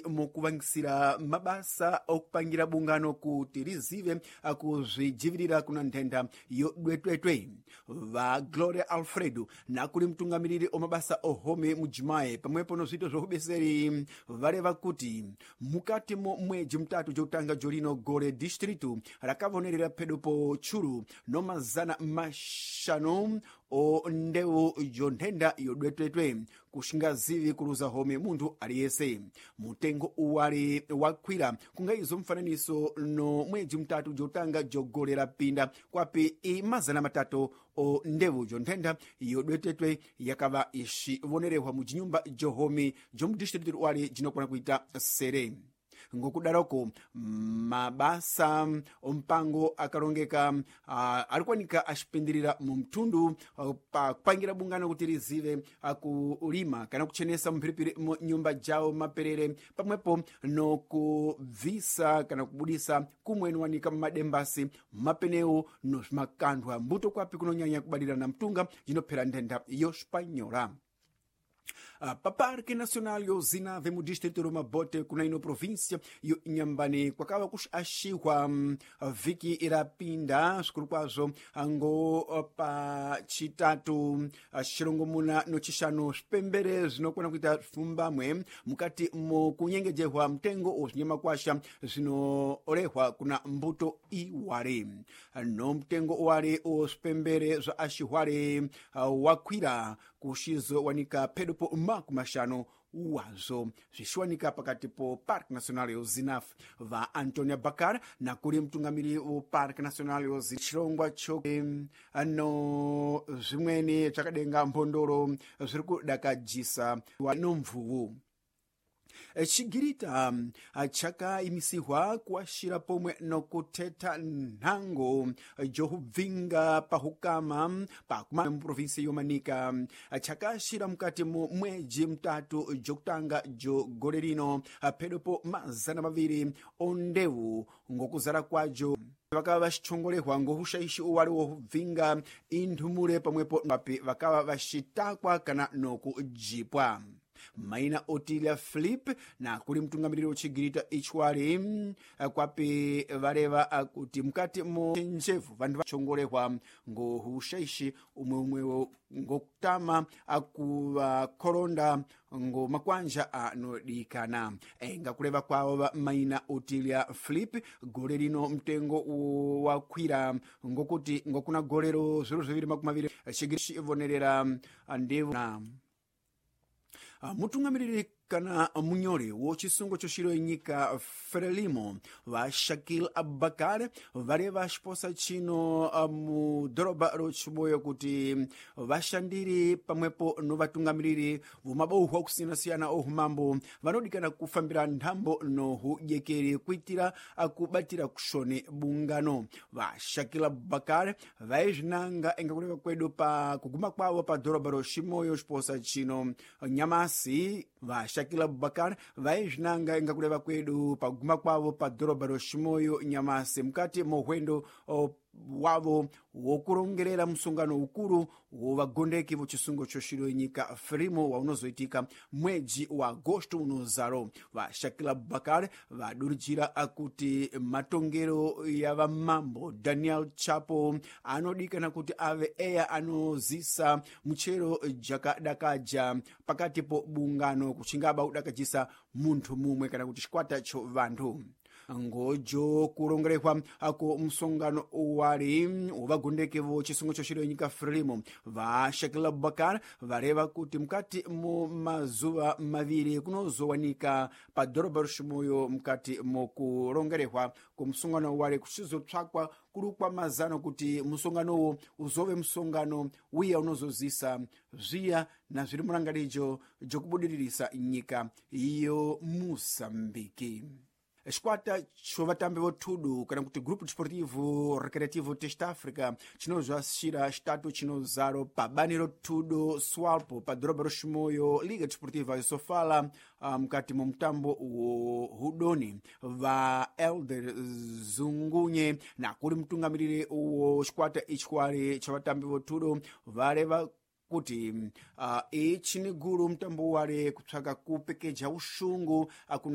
Mukuvangisira mabasa okupangira bungano kuti lizive akuzvijivirira kuna nthenda yodwetwetwe. Va Gloria Alfredo nakuli mtungamiriri omabasa ohome mujimayi pamwepo no zwito zvaubeseri valeva kuti mukati mo mwedzi mutatu jotanga jolino gole distritu rakavonerera phedo po tchulu no 500 o ndewu jonthenda yodwetwetwe kuxingazivi kuluza home munthu aliyese. Mutengo uwali wakwira kungaizo mfananiso no mwedzi mutatu jotanga jogolera pinda kwapi i 300 o ndewu jonthenda yodwetwetwe yakava ixivonerehwa mujinyumba johome jomudistritu wali jinokwana kuita sere. Ngokudaroko mabasa ompango akalongeka alikuwanika axipindirira mu mthundu pa kupangira bungano kuti lizive kulima kana kuchenesa mphiripiri mu nyumba jawo maperere pamwepo nokubvisa kana kubudisa kumwe niwanika mmadembasi, mapenewu no swimakanthwa mbuto kwapi kunonyanya kubadilana mtunga jinophera nthenda yoxpanyola. Pa Parque Nacional yo Zinave mu distrito ro Mabote kuna ino província yo Inhambane kwakava kuxaxihwa vhiki irapinda swikulu kwazvo ngo pa chitatu xirongomuna no chixanu swipembere zvinokona kuita pfumbamwe mukati mo kunyengejehwa mtengo wo swinyamakwasha zvinorehwa kuna mbuto iwale no mtengo wale o swipembere zwa axihwale wakwira kuxizowanika phedo po 50 wazo zvixiwanika pakati po Parque Nacional yo Zinaf. Va Antonia Bakar nakuli mtungamiri wo Parque Nacional yo xirongwa cho no zvimweni zvakadenga mbondoro zviri kudakajisa no mvuwu. Chigirita chakaimisihwa kuaxira pomwe nokuthetha nhango jokubvinga pahukama pakuma muprovinsia yomanika chakaxira mukati mu mwedzi mutatu jokutanga jo gole lino phedo po 200 ondewu ngokuzala kwajo vakava vaxichongolehwa ngohuxaixi uwali wokubvinga inthumule pamwepo papi vakava vaxitakwa kana nokujipwa. Maina Otilia Philip nakuli mtungamiriri wochigirita ichwali kwapi valeva kuti mukati mo njevu vantu vachongolehwa ngohushaishi umwe umwewo ngokutama akuvakhoronda ngo makwanja anodikana. Enga kuleva kwawo va maina Otilia Philip gole lino mtengo wakwira ngokuti ngokuna golero 2020 chigiri vonerera ndevu na mutungamiriri kana munyori wo chisungo choxiro nyika Frelimo va Shakil Abubakar valeva xiposa chino mu dhoroba ro Chiboyo kuti vashandiri pamwepo no vatungamiriri vomabauhwa kusiyana-siyana ohumambo vanodikana kufambira nthambo no hudyekeri kuitira kubatira kuxone bungano. Va Shakil Abubakar vaizvinanga enga kuleva kwedu pa kuguma kwavo pa dhoroba ro Chimoyo xiposa chino nyamasi. Va Shakil Abubakar vaizvinanga inga kuleva kwedu paguma kwavo pa dhorobha ro Chimoyo nyamasi mukati mo hwendo wavo wokurongerera musongano ukuru wo vagondeki vo chisungo cho xiro nyika Frelimo waunozoitika mwedzi wa agosto unozaro. Va Shakil Abubakar vadurijira kuti matongero ya vamambo Daniel Chapo anodikana kuti ave eya anozisa muchero jakadakaja pakati po bungano kuchingaba kudakajisa munthu mumwe kana kuti chikwata cho vanthu. Ngojo kurongerehwa ako musongano wali wovagondeki vo chisungo cho xiro nyika Frelimo va Shakil Abubakar vareva kuti mukati mo mazuva maviri kunozowanika pa dhorobha roXimoyo mukati mokurongerehwa kumusongano wali kuchizotsvakwa kurukwa mazano kuti musonganowo uzove musongano wiya unozozisa zviya na zviri murangarijo jokubudiririsa nyika yo Musambiki. Xikwata xo vatambi vo thudu kana kuti Grupo Desportivo Recreativo Test Africa chinozvaxira xitatu chinozaro pa bani ro thudo Swalpo pa dhorobha ro Chimoio Liga Desportiva ya Sofala mukati mo mutambo wo hudoni. Va Elder Zungunye nakuli mtungamiriri wo xikwata ichikwali cha vatambi vo thudo valeva Kuti ichi ni gulu mtambo wale kupsaka kupekeja uxungu akuna.